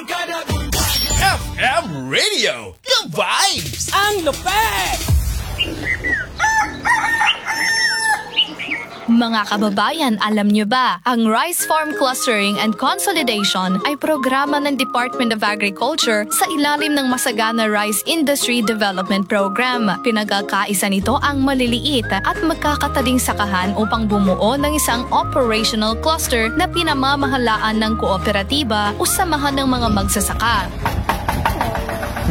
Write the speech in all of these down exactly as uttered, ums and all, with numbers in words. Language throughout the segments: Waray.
F M Radio, the vibes! Ang lupet! Mga kababayan, alam niyo ba, ang Rice Farm Clustering and Consolidation ay programa ng Department of Agriculture sa ilalim ng Masagana Rice Industry Development Program. Pinagkakaisa nito ang maliliit at magkakataling sakahan upang bumuo ng isang operational cluster na pinamamahalaan ng kooperatiba o samahan ng mga magsasaka.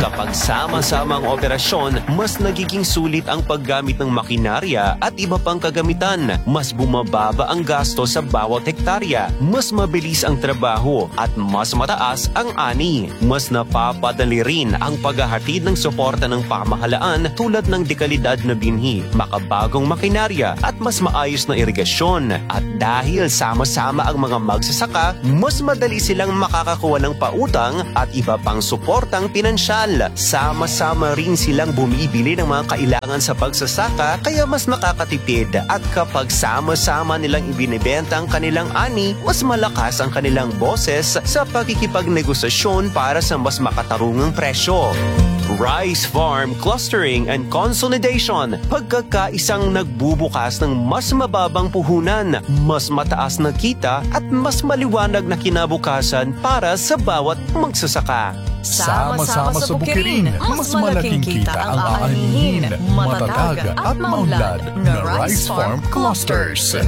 Kapag sama-sama ang operasyon, mas nagiging sulit ang paggamit ng makinarya at iba pang kagamitan. Mas bumababa ang gasto sa bawat hektarya, mas mabilis ang trabaho, at mas mataas ang ani. Mas napapadali rin ang paghahatid ng suporta ng pamahalaan tulad ng dekalidad na binhi, makabagong makinarya, at mas maayos na irigasyon. At dahil sama-sama ang mga magsasaka, mas madali silang makakakuha ng pautang at iba pang suportang pinansyal. Sama-sama rin silang bumibili ng mga kailangan sa pagsasaka, kaya mas makakatipid. At kapag sama-sama nilang ibinebenta ang kanilang ani, mas malakas ang kanilang boses sa pakikipagnegosasyon para sa mas makatarungang presyo. Rice Farm Clustering and Consolidation, pagkakaisang nagbubukas ng mas mababang puhunan, mas mataas na kita at mas maliwanag na kinabukasan para sa bawat magsasaka. Sama-sama sa bukirin, mas malaking kita ang aanihin. Matatag at maunlad na Rice Farm Clusters.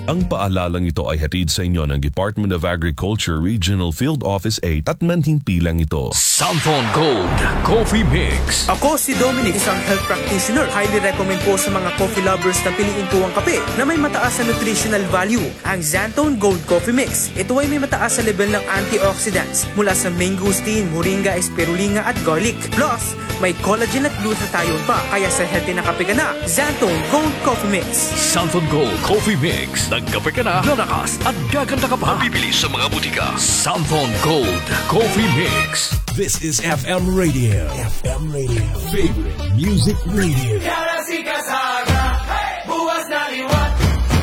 Ang paalalang ito ay hatid sa inyo ng Department of Agriculture Regional Field Office eight at nanhimpilang ito. Santhon Gold Coffee Mix. Ako si Dominic, isang health practitioner. Highly recommend po sa mga coffee lovers na piliin po ang kape na may mataas na nutritional value, ang Xanthone Gold Coffee Mix. Ito ay may mataas na level ng antioxidants mula sa mangosteen, moringa, spirulina at garlic. Plus, may collagen at glutathione pa, kaya sa healthy na kape ka na, Xanthone Gold Coffee Mix. Santhon Gold Coffee Mix. Nagkape ka na, lalakas at gaganda ka pa. Mabibili sa mga butika. Santhon Gold Coffee Mix. This is F M Radio. F M Radio. Favorite Music Radio. Yara si Kasaga, hey! Buwas na liwat,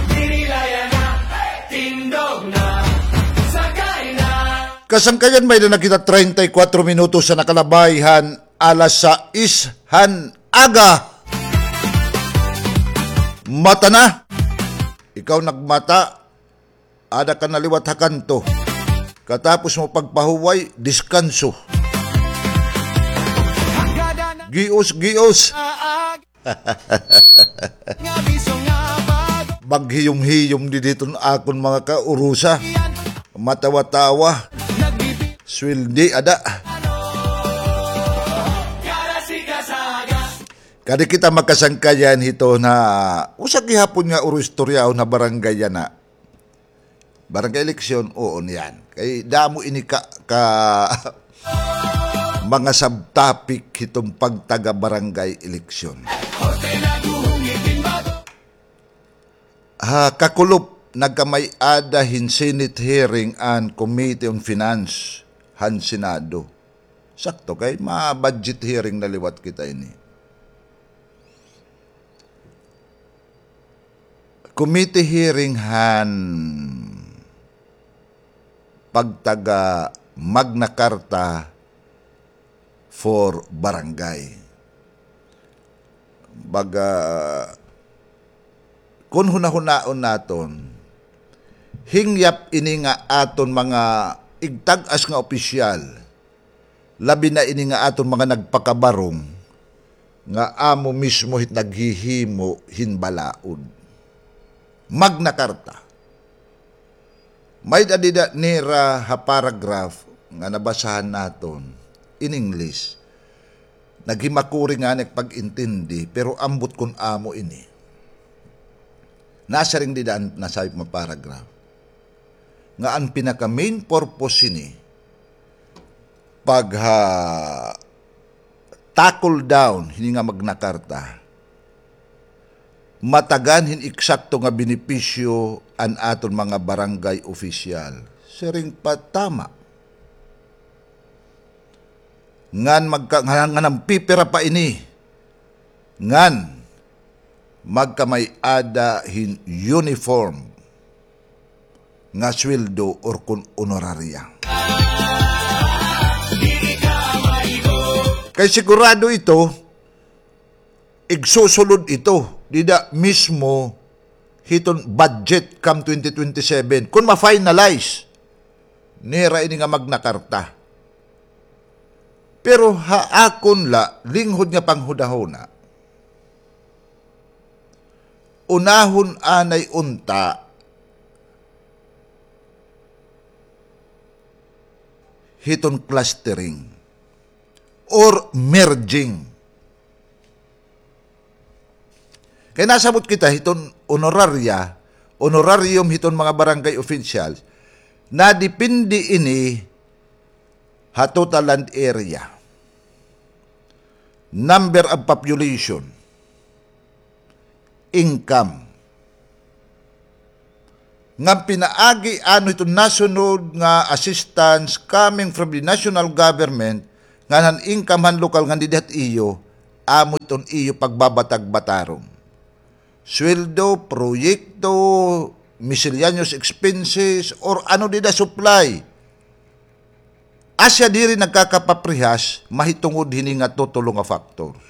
dinilayan na, hey! Tindog na, sakay na. Kasangkayan, may-ada na kita treinta y cuatro minutos sa nakalabay han alas sais han aga. Mata na. Ikaw nagmata, ada ka na liwat ha kanto. Katapos mo pagpahuway, diskanso. Gios, gios. Maghiyom-hiyom didi iton akon mga kaurusa. Matawa-tawa. Sweldi, ada. Kadi kita makasangkayan hito na usa gihapon nga uro-istoryaon ha barangay yana. Barangay eleksyon, oo niyan. Kay damo ini ka, ka mga subtopic hiton pagtaga barangay eleksyon. Ha kakulop, nagkamay-ada hin Senate hearing an Committee on Finance han Senado. Sakto kay ma-budget hearing na liwat kita ini. Committee hearing han pagtaga Magna Carta for barangay. Baga, kun hunahunaon naton, hingyap ini nga aton mga igtag-as nga opisyal, labi na ini nga aton mga nagpakabarong, nga amo mismo hit naghihimo hin balaod. Magna Carta. May-ada dida nira ha paragraph nga nabasahan naton in English. Naghimakuri ngani ak pag-intindi, pero ambot kon amo ini. Nasiring dida an nasayop nga paragraph nga an pinaka-main purpose hini pagha-tackle down hini nga Magna Carta, matagan hin eksakto nga benepisyo an aton mga barangay opisyal. Siring pa, tama. Ngan magka-, ngan, ngan an pipira pa ini. Ngan magkamay-ada hin uniform nga sweldo or kon honoraria. Kay sigurado ito, igsusulod ito dida mismo hiton budget kam twenty twenty-seven, kon ma-finalize nira ini nga Magna Carta. Pero ha akon la, linghod nga panghunahuna, unahon anay unta hiton clustering or merging. Kay nasabot kita hiton honoraria, honorarium hiton mga barangay officials, nadepende ini ha total land area, number of population, income. Ngan pinaagi ano iton nasunod nga assistance coming from the national government, ngan han income han lokal ngan dida ha iyo, amo iton iyo pagbabatag-batarong. Sweldo, proyekto, miscellaneous expenses, or ano dida supply. Asya diri nagkakapaprehas, mahitungod hini nga tutulo nga factors.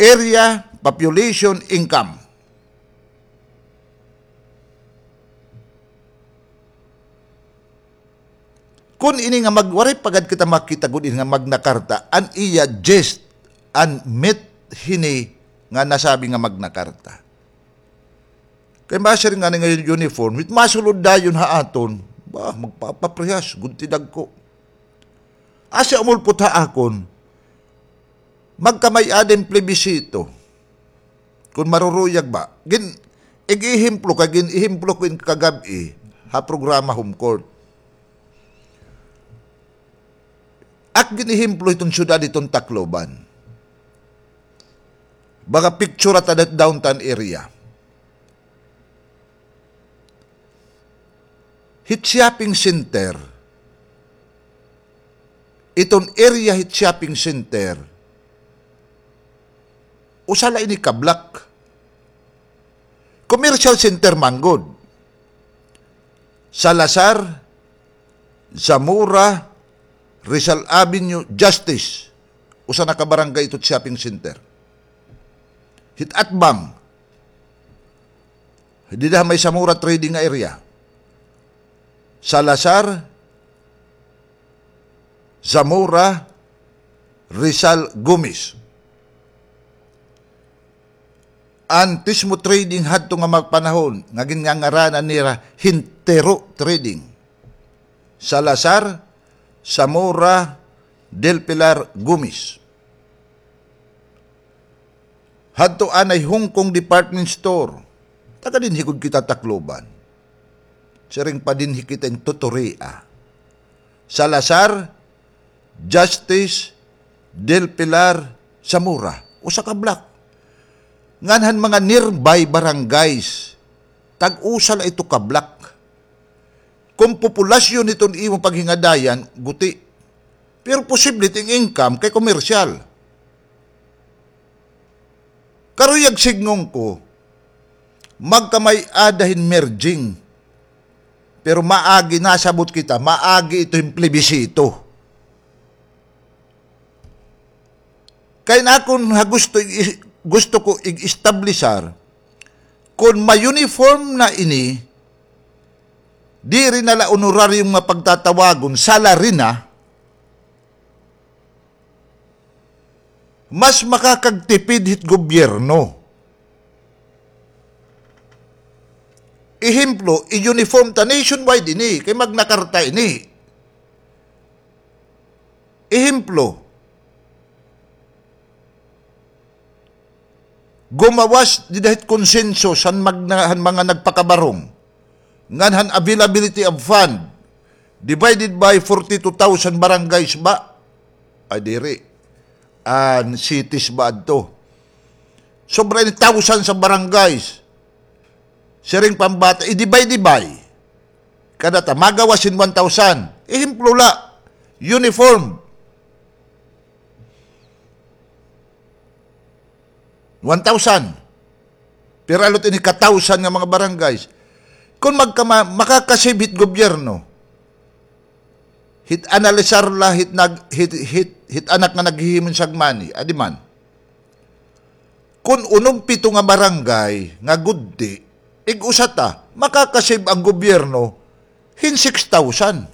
Area, population, income. Kon ini nga mag-, waray pa gad kita makita gud ini nga Magna Carta, an iya gist, an meat hini nga nasabi nga Magna Carta. Kay masiring ngani nga uniform, wit masulod dayon ha aton, ba, magpapaprehas gud ti dagko. Asya umulpot ha akon, magkamay-ada hin plebisito. Kon maruruyag ba? Gin-, ig-ihemplo ka, gin-ihemplo ko in kagab-i ha programa Home Court. Ak gin-ihemplo iton syudad iton Tacloban. Baga picture ta dat downtown area. Hit shopping center, iton area hit shopping center, usa la ini ka block. Commercial center man gud. Salazar, Zamora, Rizal Avenue, Justice. Usa na ka barangay ito shopping center. Hit atbang. Dida ha may Zamora trading nga area. Salazar, Zamora, Rizal, Gomez. An Tismo Trading hadto nga mga panahon nga ginngangaranan nira hin Tero Trading. Salazar, Zamora, Del Pilar, Gomez. Hadto anay Hong Kong Department Store. Taga dinhi gud kita Tacloban. Siring pa dinhi kita in Tuturia. Salazar, Justice, Del Pilar, Zamora. Usa ka block. Ngan han mga nearby barangays, tag-usa la ito ka block. Kon populasyon hiton imo paghingadayan, guti. Pero posible it income kay komersyal. Karuyag sidngon ko, magkamay-ada hin merging. Pero maagi, nasabot kita, maagi ito hin plebisito. Kay an akon ha gusto, gusto ko ig-establisar, kon ma-uniform na ini, diri na la honorarium nga pagtatawagon, salary na, mas makakagtipid hit gobyerno. Ehemplo, i-uniform ta nationwide ini, kay Magna Carta ini. Ehemplo, gumawas dida hit konsenso han magna-, han mga nagpakabarong ngan han availability of fund divided by forty-two thousand barangays ba? Ay, diri. An cities ba adto? Sobra ini thousand sa barangays. Siring pa an bata, i-divide-divide. Kada ta, magawas hin one thousand. Ehemplo la, uniform. One thousand. Pero alot ini ka thousand nga mga barangays. Kon magkama-, makakasave hit gobyerno, Hit analisar la, hit nag-, hit, hit, hit anak nga naghihimo hin sagmani, adi man. Kun unom pito nga barangay nga gudti, ig-usa ta, makaka-save an gobyerno hin six thousand.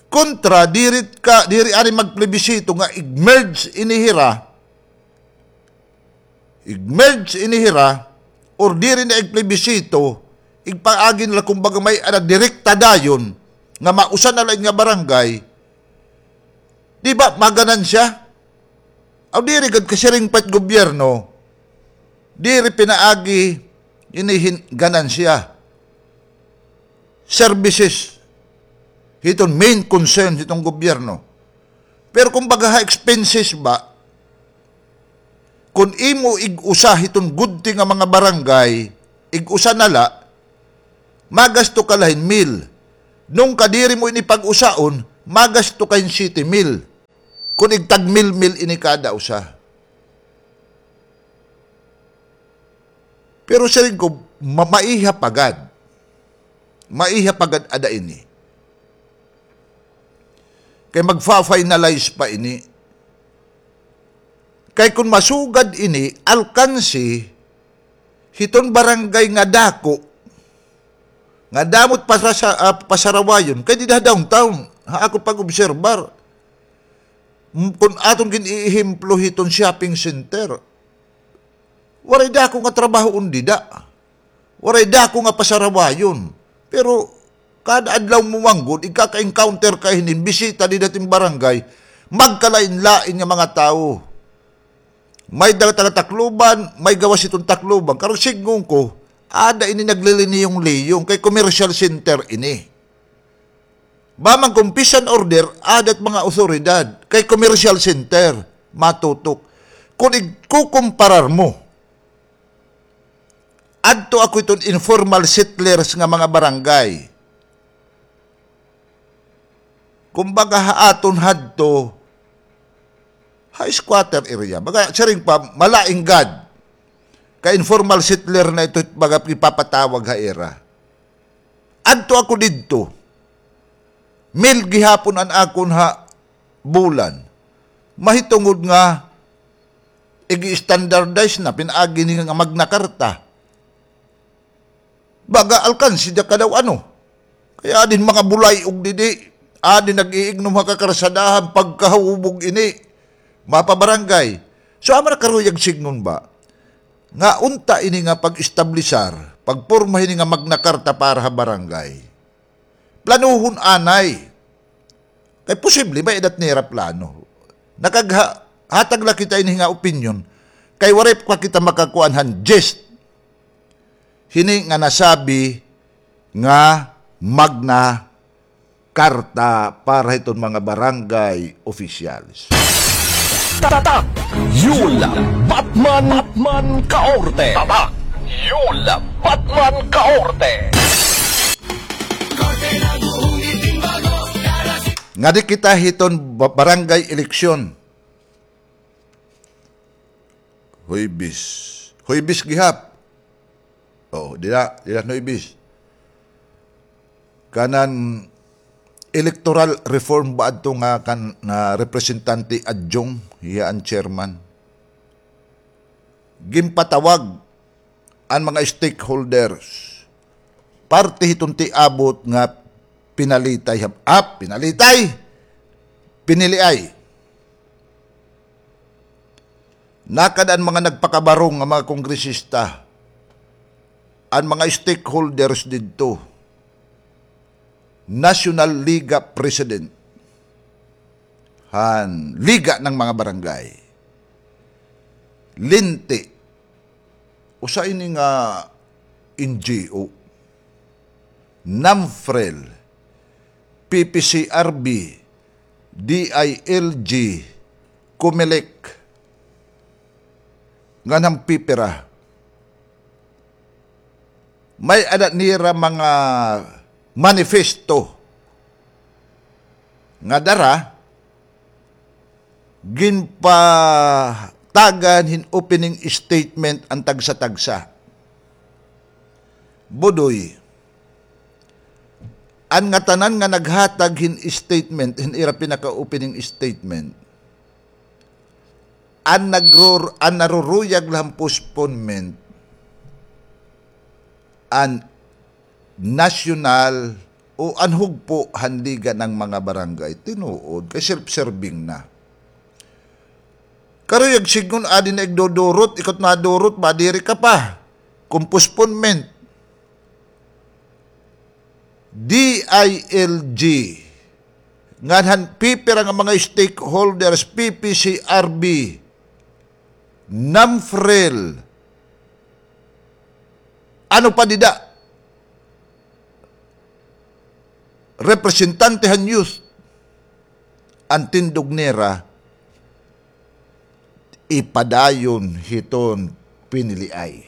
Kontra, diri ka, diri anay magplebisito nga ig-merge ini hira, ig-merge ini hira, or diri na igplebisito, igpaagi nira kumbaga may-ada direkta dayon nga mausa na la ini nga barangay, di ba maganansya? Aw, diri gad kasiring pa it gobyerno, diri pinaagi ini hin ganansya. Services, hiton main concern hiton gobyerno. Pero kumbaga ha expenses ba, kun imo ig-usa hiton gudti nga mga barangay, ig-usa na la, magasto ka la hin mil. Nung kadiri mo ini pag-usaon, magasto ka hin siyete mil. Kun igtag mil-mil ini kada usa. Pero siring ko, ma-, maiha pa gad. Maiha pa gad ada ini. Kay magfa-finalize pa ini. Kay kun masugad ini, alkansi, hiton barangay nga dako, nga damo it pasasa-, ah, pasarawayon, kay dida ha downtown, ha akon pag-obserbar. M-, kun aton gin-iihemplo hiton shopping center, waray dako nga trabahoon dida. Waray dako nga pasarawayon. Pero kada adlaw mo manggod, igkaka-encounter ka hinin bisita dida ha aton barangay, magkalain-lain nga mga tawo. May da-, taga-Tacloban, may gawas hiton Tacloban. Karon sidngon ko, ada ini nagliliniyong-liyong kay commercial center ini. Ba man kun peace and order, ada it mga awtoridad kay commercial center, matutok. Kun igkukumparar mo, adto ako hiton informal settlers nga mga barangay. Kumbaga ha aton hadto, ha squatter area. Baga, siring pa, malain gad. Kay informal settler na ito, baga ipapatawag ha ira. Adto ako didto. Mil gihapon an akon ha bulan. Mahitungod nga igi-standardize na, pinaagi ni nga Magna Carta. Baga alkansi da ka daw ano. Kay adi hin mga bulay-og didi, adi nag-iignom ha kakarsadahan, pagkahubog ini, mapabarangay. So, amo na karuyag sidngon ba nga unta ini nga pag-establisar, pagporma hini nga Magna Carta para ha barangay. Planuhon anay. Kay posible, may-ada it nira plano. Nakagha-, hatag la kita ini nga opinyon. Kay waray pa kita makakuan han gist hini nga nasabi nga Magna Carta para hiton mga barangay officials. Tatak Yul Batman, Batman Kaorte. Tatak Yul Batman Kaorte. Ngadi kita hiton ba-, barangay eleksyon. Huwebes. Huwebes gihap. Oo, dida, dida Huwebes. Kanan electoral reform ba adto nga kan, na representante adjunct, hiya an chairman. Ginpatawag an mga stakeholders, parte hiton tiabot nga pinalitay, ah, pinalitay, piniliay. Nakada an mga nagpakabarong nga mga kongresista, an mga stakeholders didto, National Liga President han Liga ng mga Barangay, Linti, usa ini nga N G O, NAMFREL, P P C R B, D I L G, COMELEC, ngan han PIPERA. May-ada nira mga manifesto nga dara, ginpatagan hin opening statement an tagsa-tagsa. Budoy, An ngatanan nga naghatag hin statement, hin ira pinaka-opening statement, an nagrur-, an naruruyag la han postponement, an nasyonal o an hugpo han Liga ng mga Barangay. Tinuod, kay self-serving na. Karuyag sidngon, adi na igdudurot, ikot na durot, madiri ka pa. Kon postponement. D I L G, ngan han pipira nga mga stakeholders, P P C R B, NAMFREL, ano pa dida, representante han youth, an tindog nira, ipadayon hiton piniliay.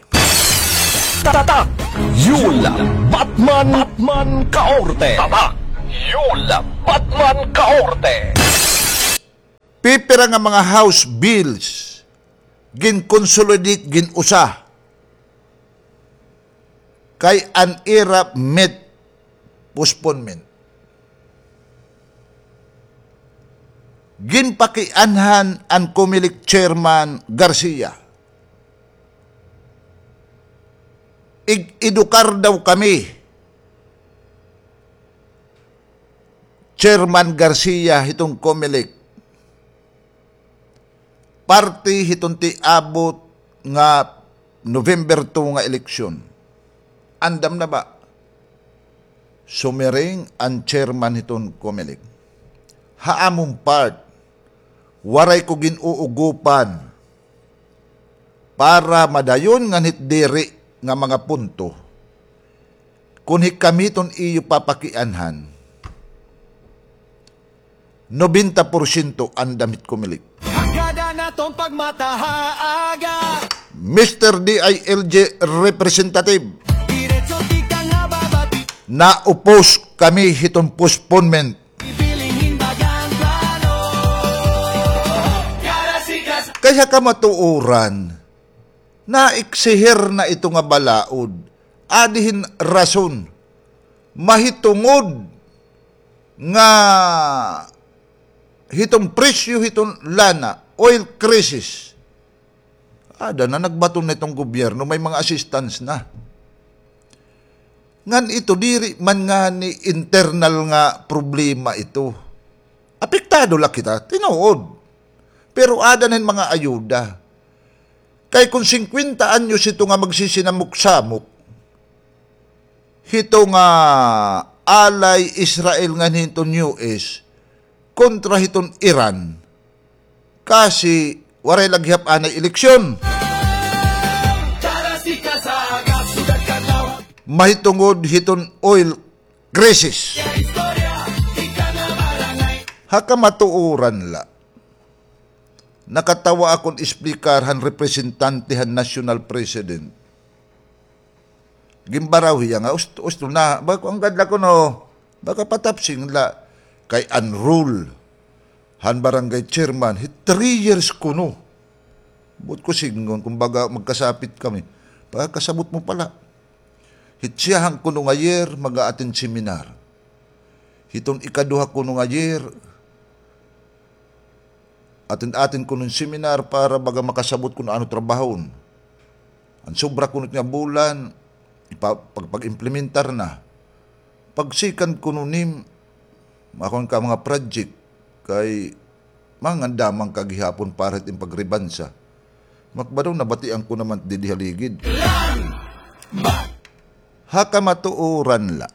Tatak! Yul Batman, Batman Kaorte! Tatak! Yul Batman Kaorte! Pipira nga mga House bills, gin-consolidate, gin-usa. Kay an ira met postponement. Ginpakianhan an Comelec Chairman Garcia. Ig-edukar daw kami, Chairman Garcia, hiton Comelec. Parte hiton tiabot nga November two nga eleksyon. Andam na ba? Sumiring an chairman hiton Comelec. Ha amon part, waray ko gin-uugopan para madayon ngan hit diri nga mga punto. Kon hikami ton iyo papakianhan, nobenta porsyento andam hit Comelec. Hagad an aton pagmata ha aga. Mister D I L G representative. Diretso tikang ha babati. Naupos kami hiton postponement. Ibilin hin bagang plano. Karasikas. Kay ha kamatuoran, naeksihir na ito nga balaod. Adi hin rason. Mahitungod nga hiton presyo hiton lana, oil crisis. Ada na, nagbaton na iton gobyerno, may mga assistance na. Ngan ito, diri man ngani internal nga problema ito. Apektado la kita, tinuod. Pero ada na hin mga ayuda. Kay kon singkwenta anyos ito nga magsisinamok-samok, hito nga alay Israel ngan hiton U S kontra hiton Iran, kasi waray la gihap anay eleksyon. Mahitungod hiton oil crisis. Ha kamatuoran la, nakatawa akon esplikar han representante han national president. Ginbaraw hiya nga, "Ust-, usto na, baka anggad la kuno, baka patapsing la." Kay an rule han barangay chairman, hi three years kuno. Buot ko sidngon, kumbaga magkasapit kami. Pagkasabot mo pala. Hit siyahan kuno nga year, mag-a-attend seminar. Hiton ikaduha kuno nga year, attend-attend kuno hin seminar para baga makasabot kon ano trabahon. An sobra kuno nga bulan, ipa-, pag-, pag-implementar na. Pag-second kuno nim, makuan ka mga project, kay mangandamang ka gihapon para hit im pagribansa. Makbadaw, nabatian ko naman didi ha ligid. Ha kamatuoran la.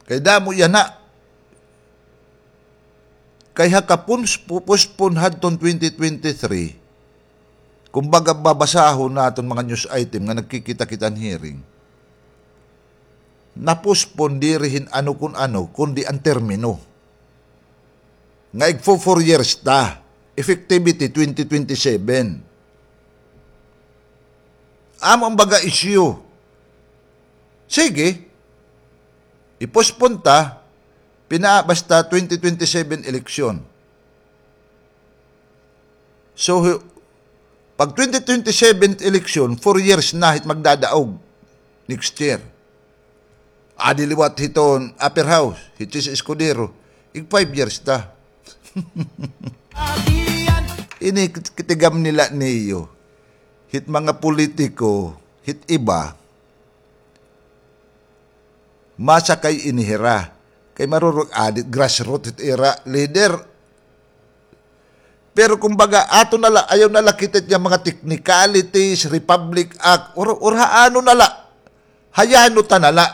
Kay damo yana. Kay ha kapons-, pu-, postpone hadton twenty twenty-three, kumbaga babasahon naton mga news item nga nagkikita-kita han hearing, na-postpone diri hin ano kon ano, kundi an termino. Nga igfo-four years ta, effectivity twenty twenty-seven. Amo an baga issue. Sige, i-postpone ta, pina-, basta twenty twenty-seven eleksyon. So, pag twenty twenty-seven eleksyon, four years na hit magdadaog next year. Adi liwat hiton upper house, hi Chiz Escudero. Ig five years ta. Ini kit-, kitigam nila niyo. Hit mga politiko, hit iba, masakay ini hira. Kay marurog adit grassroot hit ira leader. Pero kumbaga, ato na la, ayaw na la kita nga mga technicalities, Republic Act, or, or ha ano na la. Hayano ta na la.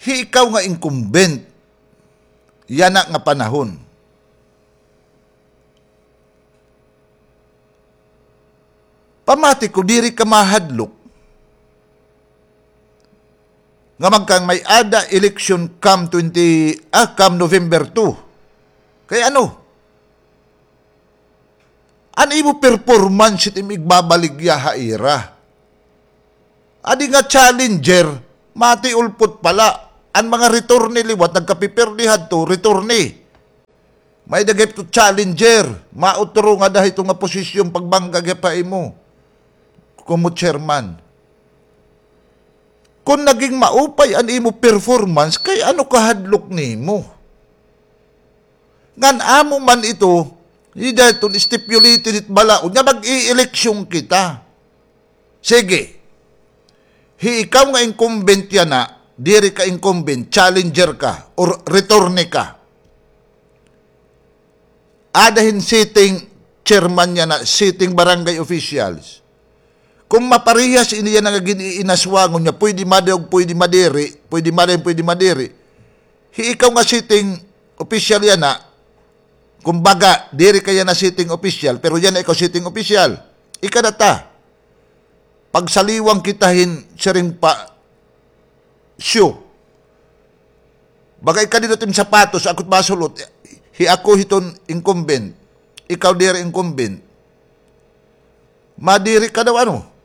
Hi ikaw nga incumbent, yana nga panahon. Pamati ko, diri ka mahadlok nga magkamay-ada election come twenty, ah, come November two. Kay ano? An imo performance it im igbabaligya ha ira. Adi nga challenger, mati ulpot pala. An mga returne liwat, nagkapipirdi hadto, returne. May-ada gihap to challenger, mautro nga ada hito nga posisyon pagbangga gihap ha imo komo chairman. Kon naging maupay an imo performance, kay ano kahadlok nimo? Ngan amo man ito, dida iton stipulated it balaod nga mag-i-eleksyon kita. Sige. Hi ikaw nga incumbent yana, diri ka incumbent, challenger ka, or returne ka. Ada hin sitting chairman yana, sitting barangay officials. Kon maparehas ini yana nga gin-iinaswangon niya, pwede madi ug pwede madiri, pwede madi, pwede madiri. Hi ikaw nga sitting official yana, kumbaga, diri ka yana sitting official, pero yana ikaw sitting official. Ikadata, pagsaliwang kita hin siring pa, siyo. Baga ikadinot im sapatos, ako it masul-ot, hi ako hiton incumbent, ikaw diri incumbent. Madiri ka daw, ano?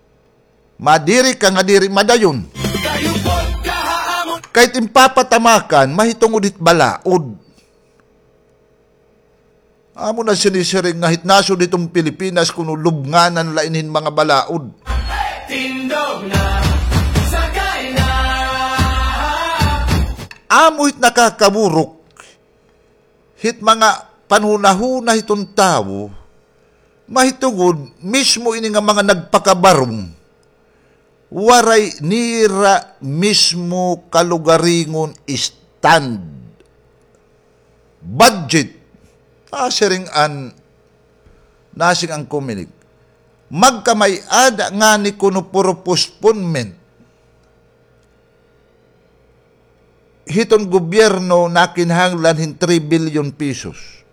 Madiri ka nga diri madayon. Kay it im papatamakan, mahitungod hit balaod. Amo na sinisiring nga hit nasod hiton Pilipinas kuno lubnganan la ini hin mga balaod. Tindog na, sakay na. Amo hit nakakaburok hit mga panhunahuna hiton tawo, mahitungod mismo ini nga mga nagpakabarong, waray nira mismo kalugaringon stand. Budget. Ah, siring an, nasiring an Comelec. Magkamay-ada ngani kuno puro postponement. Hiton gobyerno nakinahanglan hin three billion pesos.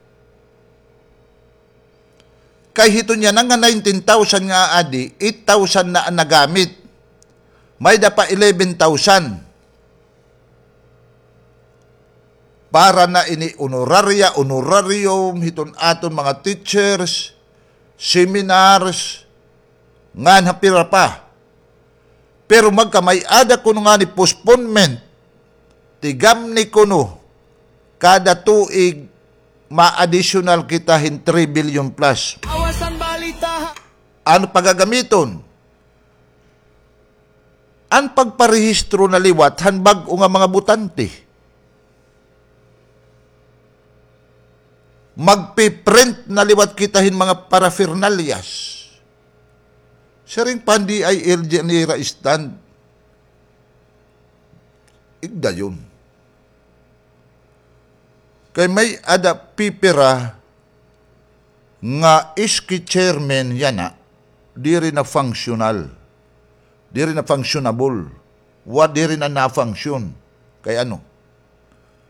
Kay hiton yana nga nineteen thousand nga adi, eight thousand na an nagamit. May-ada pa eleven thousand. Para na ini honoraria, honorarium, hiton aton mga teachers, seminars, ngan ha pira pa. Pero magkamay-ada kuno ngani postponement, tigamni kuno, kada tuig ma-additional kita hin three billion plus. Awasan balita. Ano pagagamiton? An pagparehistro na liwat han bag-o nga mga botante. Magpiprint na liwat kita hin mga paraphernalias. Siring pa han D I L G an ira stand. Igdayon. Kay may-ada pipira nga S K chairman yana, diri na functional. Diri na functionable. Wa, diri na na-function. Kay ano?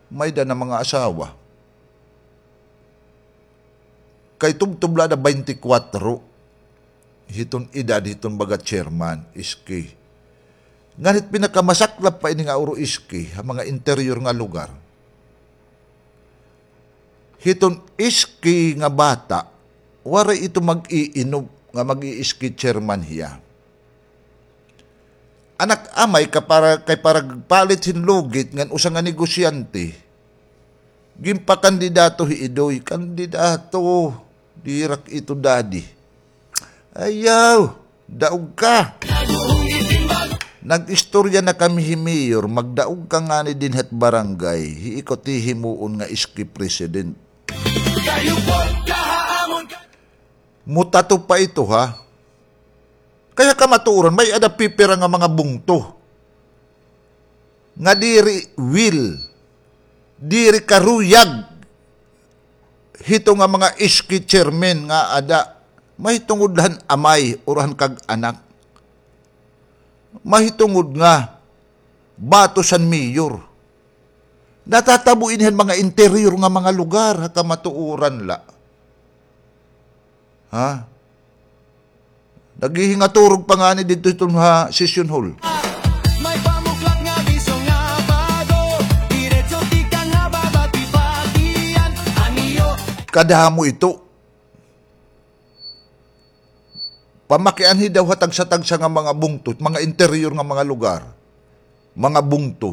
May-ada na mga asawa. Kay tubtob la na baynte kwatro. Hiton edad hiton baga chairman, S K. Ngan hit pinakamasaklap pa ini nga uro S K, ha mga interior nga lugar. Hiton S K nga bata, waray ito mag-iinom nga mag-i-S K chairman hiya. Anak amay ka para, kay para palit hin lugit ngan usa nga negosyante, ginpakandidato hi Idoy, kandidato, dirak ito daddy. Ayaw, daog ka. Nag-istorya na kami hi Mayor, magdaog ka ngani dinhi ha barangay, hi ikaw it hihimuon nga iski president. Mutato pa ito, ha? Kay ha kamatuoran, may-ada pipira nga mga bungto nga diri will, diri karuyag hito nga mga iski chairman nga ada, mahitungod la han amay, or han kag-anak. Mahitungod nga batos han mayor. Natatabo ini han mga interior nga mga lugar, ha kamatuoran la. Ha? Naghihingaturog pa ngani didto hiton ha session hall. May pamuklat nga bisyo nga bago, diretso tikang ha babati-batian, aniyo. Kadamo ito. Pamakianhi daw ha tagsa-tagsa nga mga bungto, mga interior nga mga lugar, mga bungto.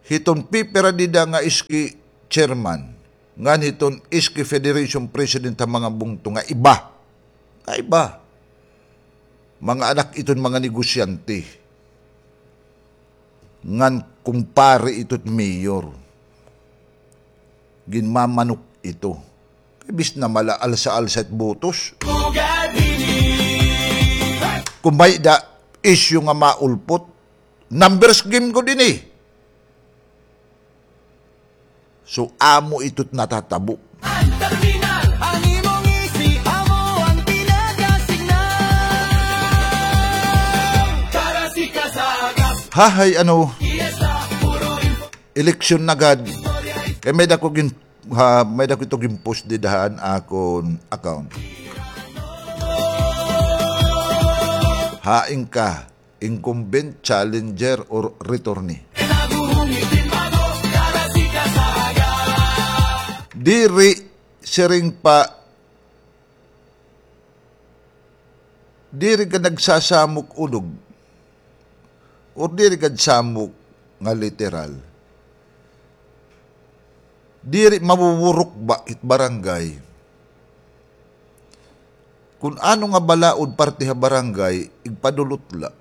Hiton pipira dida nga iski chairman, ngan hiton iski federation president ha mga bungto nga iba. Nga iba. Mga anak iton mga negosyante. Ngan kumpare ito it mayor. Ginmamanok ito. Kay bis na mala alsa-alsa it botos. Kon may-ada issue nga maulpot, numbers game gud ini. So, amo ito it natatabo. An terminal, an imong isi, amo an pinagasignal. Para si Kasagas. Hahay, ano, Fiesta, puro info. Eleksyon na gad. Kay may-ada ko gin-, ha, may-ada ko ito gin-post dida han akon account. Hain ka. Incumbent, challenger, or returnee. Diri siring pa, diri ka nagsasamok unog, or diri ka samok nga literal. Diri mabuburok ba it barangay? Kun ano nga balaod parte ha barangay, igpadulot la.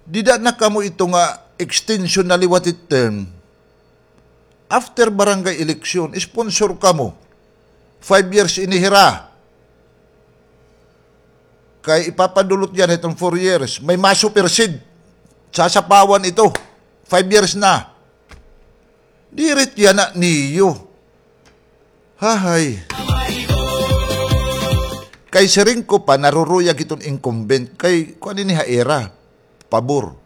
Dida na kamo ito nga extension na liwat it term. After barangay election, sponsor kamo. Five years ini hira. Kay ipapadulot yana hiton four years. May ma-supersede. Sasapawan ito. Five years na. Diri it yana niyo. Hahay. Kay siring ko pa, naruruyag hiton incumbent. Kay, kuan ini ha ira. Pabor.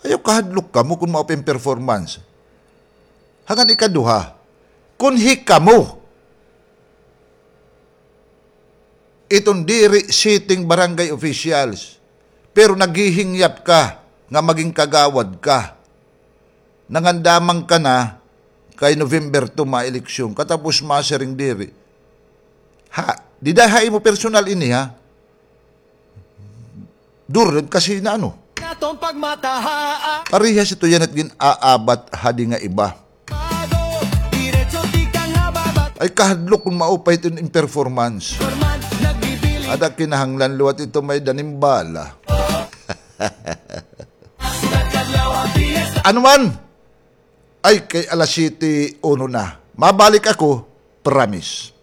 Ayaw kahadlok kamo kon mao pa it performance. Ngan ikaduha, kon hikamo, iton diri sitting barangay officials, pero naghihingyap ka nga maging kagawad ka. Nangandamang ka na kay November two ma-eleksyon, katapos masiring diri. Ha, dida ha imo personal ini, ha? Durog kasi na ano. Parehas ito yana it gin-aabat hadi nga iba. Ay, kahadlok kon mao pa iton im performance. Ada kinahanglan liwat ito may-ada nim bala. Ano man? Ay, kay alas siyete uno na. Mabalik ako, promise.